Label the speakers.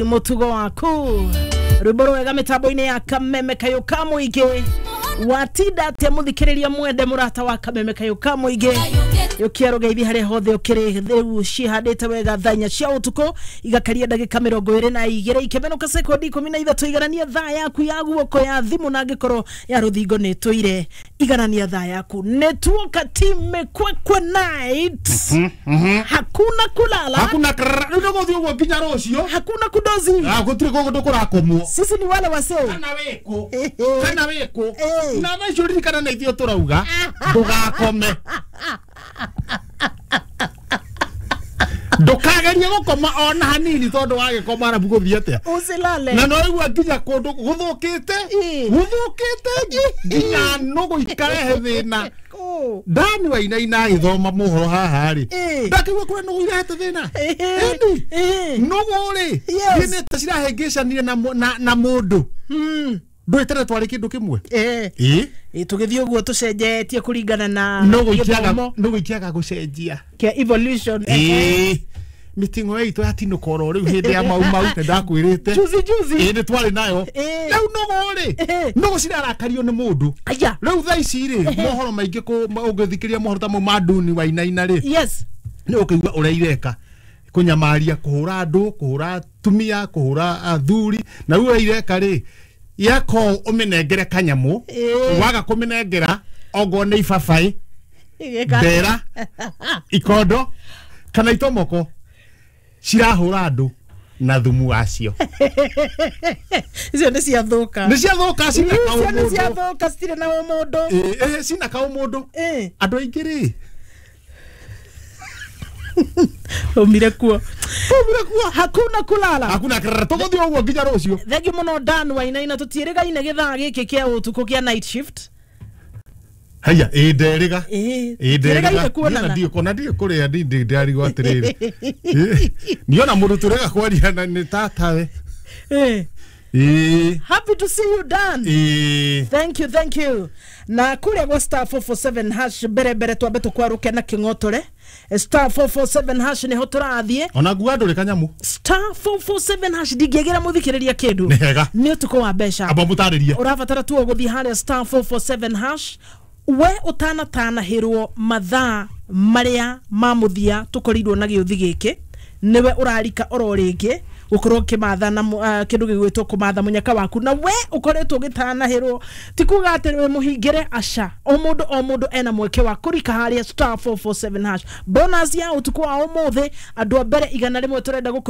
Speaker 1: Mutugo waku rwimbo rwega mitambo-inĩ ya Kameme Kayũ ka Mũingĩ. Watinda atia muthikiriria mwende murata wa Kameme Kayũ ka Mũingĩ? Yũkia rũgeithi harĩa hothe ũkĩrĩ. Rĩu cihandĩte wega thaa 4 cia ũtukũ, igakaria ndagĩka 22, ikĩmenũka sekondi 13. Iganania thaa yaku ya guoko ya thimũ, na angĩkorwo ya rũthingo nĩ ĩtũire, iganania thaa yaku. Nĩ tuoka Team Kwekwe night, hakuna kulala.
Speaker 2: Hakuna krrr. Rĩu nĩgũthiĩ ũguo nginya rũciũ.
Speaker 1: Hakuna kudozi.
Speaker 2: Ah, gũtirĩ kũndũ kũrakomwo.
Speaker 1: Sisi ni wale wasee.
Speaker 2: Kana wĩkũ, kana wĩkũ, na thaa icio ririkana na ithuĩ tũrauga ndũgakome, ndũkagerie gũkoma ona hanini, tondũ wagĩkoma arabu gũthiĩ atĩa?
Speaker 1: Usilale.
Speaker 2: Na no igua nginya kũndũ gũthũkĩte, gũthũkĩte nginya nũgũ ikarehe thĩna.
Speaker 1: Oh.
Speaker 2: Ndani Wainaina agĩthoma mohoro haha rĩ, ndakĩigua kũrĩa nũgũ irehete thĩna. Ĩni nũgũ rĩ, nĩ ta cirahĩngĩcanire na mũndũ ndũĩ tene twarĩ kĩndũ kĩmwe. Ĩ.
Speaker 1: Tũgĩthiĩ ũguo tũcenjetie kũringana na
Speaker 2: nũgũ ikĩaga
Speaker 1: gĩthomo
Speaker 2: nũgũ ikĩaga gũcenjia
Speaker 1: kĩa evolution.
Speaker 2: Ĩ, mĩting'o itũ yatinũka oro rĩu hĩndĩ ya Mau Mau, nĩ ndakwĩrĩte.
Speaker 1: Juzi juzi.
Speaker 2: Ĩ, nĩ twarĩ nayo. Rĩu nũgũ rĩ, nũgũ cirarakario nĩ mũndũ.
Speaker 1: Aya.
Speaker 2: Rĩu thaa ici rĩ, mohoro maingĩ ũngĩthikĩrĩria mohoro ta mau ma Nduni Wainaina rĩ, nĩ ũkĩigua ũrĩa ireka kũnyamaria, kũhũra andũ, kũhũra atumia, kũhũra athuri. Na rĩu ũrĩa ireka rĩ, yako ũmĩnengere kanyamũ, waga kũmĩnengera ongorwo nĩ ibabaĩ,
Speaker 1: Igĩka.
Speaker 2: mbera, ikondo kana itomoko, cirahũra andũ na thumu wacio.
Speaker 1: Icio nĩ ciathũka.
Speaker 2: Nĩ ciathũka, cina
Speaker 1: Icio nĩ
Speaker 2: kaũmũndũ.
Speaker 1: ciathũka, citirĩ na ũmũndũ.
Speaker 2: Ĩ, cina kaũmũndũ. Andũ aingĩ rĩ,
Speaker 1: Umire kuo.
Speaker 2: Umire kuo.
Speaker 1: Hakuna kulala.
Speaker 2: Hakuna krrr, tũgũthiĩ ũguo nginya rũciũ.
Speaker 1: Thengiũ mũno, Dan Wainaina. Tũtiĩrĩgaine gĩthaa gĩkĩ kĩa ũtukũ kĩa night shift.
Speaker 2: Haya, ĩ, nderĩga. Ĩ, nderĩga.
Speaker 1: Tũtiĩrĩgaine kuonana.
Speaker 2: Ndiũ kona ndiũ kũrĩa ndi ndarigwo atĩrĩrĩ, niona mũndũ tũrega kwaria na nĩ tatawe. Ĩ.
Speaker 1: Happy to see you, Dan.
Speaker 2: Ĩ.
Speaker 1: Thank you, thank you. Na kuria gwa *447#, mbere mbere twambe tukwaruke na king'otore. *447# niho tũrathiĩ.
Speaker 2: Ona ngua ndũrĩ kanyamũ.
Speaker 1: *447# ndingĩagĩra mũthikĩrĩria kĩndũ.
Speaker 2: Nĩ hega.
Speaker 1: Nĩ ũtukũ wa mbeca.
Speaker 2: Amba mũtarĩrie.
Speaker 1: Ũrabatara tu o gũthiĩ harĩa *447# we ũtanatanahĩrwo mathaa marĩa ma mũthia tũkorirwo na gĩũthi gĩkĩ, nĩwe ũrarika oro rĩngĩ gũkorwo ũkĩmatha na kĩndũ gĩgwĩtwo kũmatha mũnyaka waku. Na we ũkoretwo ũgĩtanahĩrwo, ti kuga atĩ wĩ mũhingĩre, aca. O mũndũ, o mũndũ ena mweke wa kũrika harĩa *447#. Bonus ya ũtukũ wa ũmũthĩ, andũ a mbere 100 tũrenda gũkũ.